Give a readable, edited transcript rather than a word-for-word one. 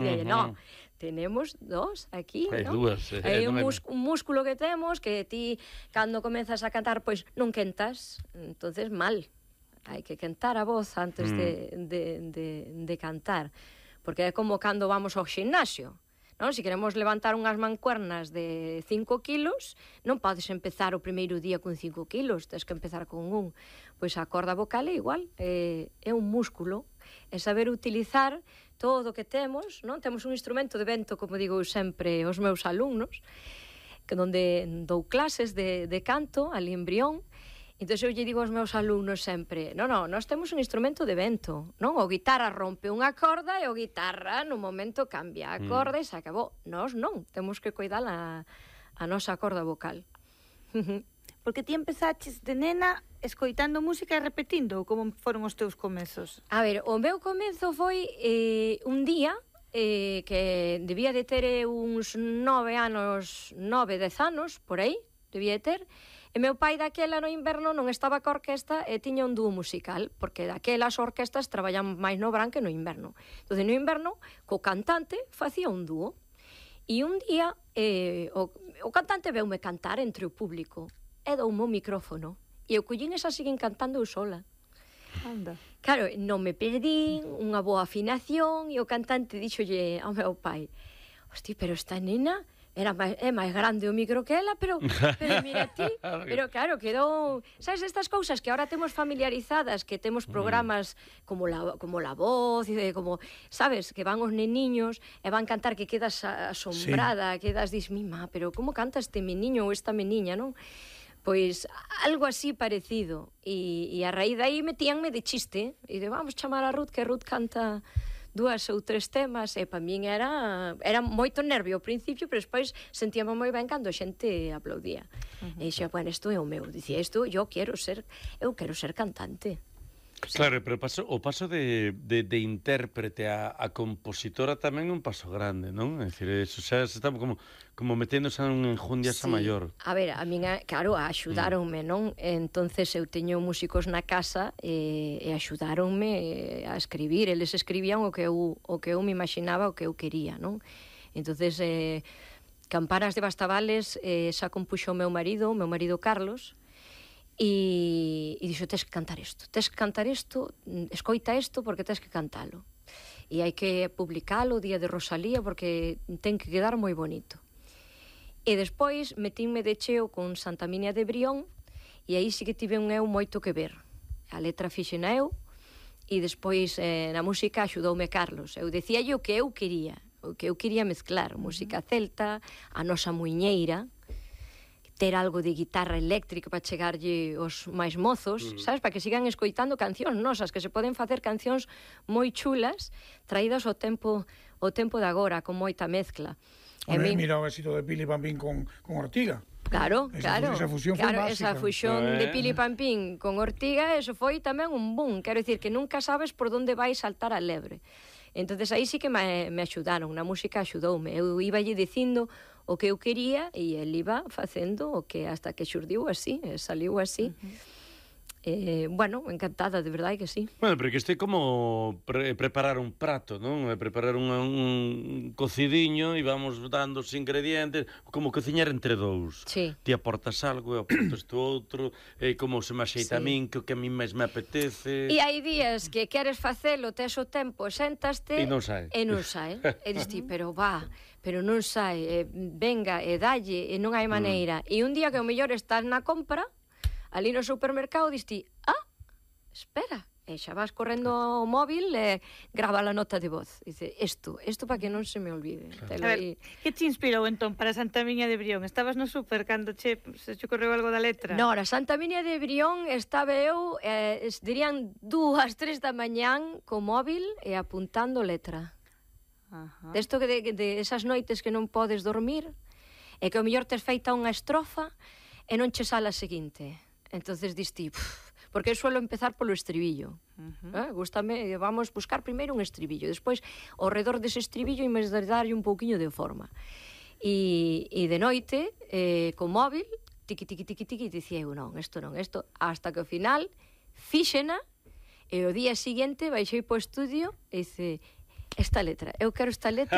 E non, tenemos dos aquí, non? Dúas. Hai un músculo que temos que ti, cando comezas a cantar, pois non quentas, entonces mal. Hai que quentar a voz antes de cantar, porque é como cando vamos ao ximnasio, non? Se queremos levantar unhas mancuernas de 5 kilos, non podes empezar o primeiro día con 5 kilos, tens que empezar con un. Pois a corda vocal é igual, é un músculo, é saber utilizar todo o que temos, non? Temos un instrumento de vento, como digo sempre aos meus alumnos, que onde dou clases de canto, ali en Brión. Entón eu lle digo aos meus alumnos sempre, nós temos un instrumento de vento, non? O guitarra rompe unha corda e o guitarra no momento cambia a corda e se acabou. Nós non, temos que cuidar a nosa corda vocal. Porque ti empezaches de nena escoitando música e repetindo, como foron os teus comezos? A ver, o meu comezo foi un día que debía de ter uns 10 anos, por aí, debía de ter. E meu pai daquela no inverno non estaba ca orquesta e tiña un dúo musical, porque daquelas orquestas traballan máis no verán que no inverno. Entón, no inverno, co cantante facía un dúo. E un día, o cantante veume cantar entre o público e doume o micrófono. E eu collín esa siguen cantando eu sola. Anda. Claro, non me perdín, unha boa afinación, e o cantante díxolle ao meu pai, hosti, pero esta nena é máis grande o micro que ela, pero mira ti, pero claro, quedou, sabes, estas cousas que ahora temos familiarizadas, que temos programas como la voz, como, sabes, que van os neniños e van cantar que quedas asombrada, quedas, dis, mima, pero como canta este meniño ou esta meniña, non? Pois algo así parecido, e a raíz de aí metíanme de chiste, e de vamos chamar a Ruth, que Ruth canta 2 ou 3 temas, e para min era moito nervio ao principio, pero despois sentíame moi ben cando a xente aplaudía. E dixía, bueno, isto é o meu, dicía, eu quero ser cantante. Claro, pero o paso de intérprete a compositora tamén é un paso grande, non? É dicir, eso xa se está como meténdose en enjundia esa maior. A ver, a min, claro, axudáronme, non? Entonces eu teño músicos na casa e axudáronme a escribir, eles escribían o que eu me imaginaba, o que eu quería, non? Entonces, Campanas de Bastavales xa compuxo o meu marido Carlos. E dixo, tes que cantar isto, escoita isto porque tes que cantalo. E hai que publicalo o día de Rosalía porque ten que quedar moi bonito. E despois metínme de cheo con Santa Minia de Brión e aí sí que tive un eu moito que ver. A letra fixena eu e despois na música axudoume Carlos. Eu decíalle o que eu quería mezclar, música celta, a nosa muiñeira, ter algo de guitarra eléctrica para chegarlle os máis mozos, sabes, para que sigan escoitando cancións nosas, que se poden facer cancións moi chulas, traídas ao tempo de agora, con moita mezcla. Mira o éxito de Pili Pampín con Ortiga. Claro. Esa fusión foi máxica. Esa fusión de Pili Pampín con Ortiga, eso foi tamén un boom, quero dicir que nunca sabes por onde vai saltar a lebre. Entonces aí sí que me axudaron, na música axudoume, eu iballe dicindo o que eu quería e el iba facendo o que hasta que xurdiu así, saliu así. Bueno, encantada, de verdade que sí. Bueno, pero que este é como preparar un prato, non? Preparar un cocidiño e vamos dando os ingredientes, como cociñar entre dous. Sí. Ti aportas algo, eu aportas tú outro, como se me axeita a min, que o que a min máis me apetece. E hai días que queres facelo, tes o tempo, sentaste e non sai. E dis ti, pero non sai, venga, e dalle, e non hai maneira. E un día que o mellor estás na compra, ali no supermercado, diste, espera, e xa vas correndo ao móvil e grava a nota de voz. Dice, isto para que non se me olvide. Claro. A ver, que te inspirou entón para Santa Minia de Brión? Estabas no super cando se che correu algo da letra? No, na Santa Minia de Brión estaba eu, dirían 2, 3 da mañán co móvil e apuntando letra. Desto que de esas noites que non podes dormir e que o mellor tes feita unha estrofa e non che sala a seguinte. Entonces diste, porque eu suelo empezar polo estribillo. Gústame, vamos buscar primeiro un estribillo, despois ao redor dese estribillo e mes darlle un pouquiño de forma. E de noite, co móvil, tiqui, dicía eu, non, isto, hasta que ao final fíxena, e o día seguinte baixei po estudio e dice, esta letra, eu quero esta letra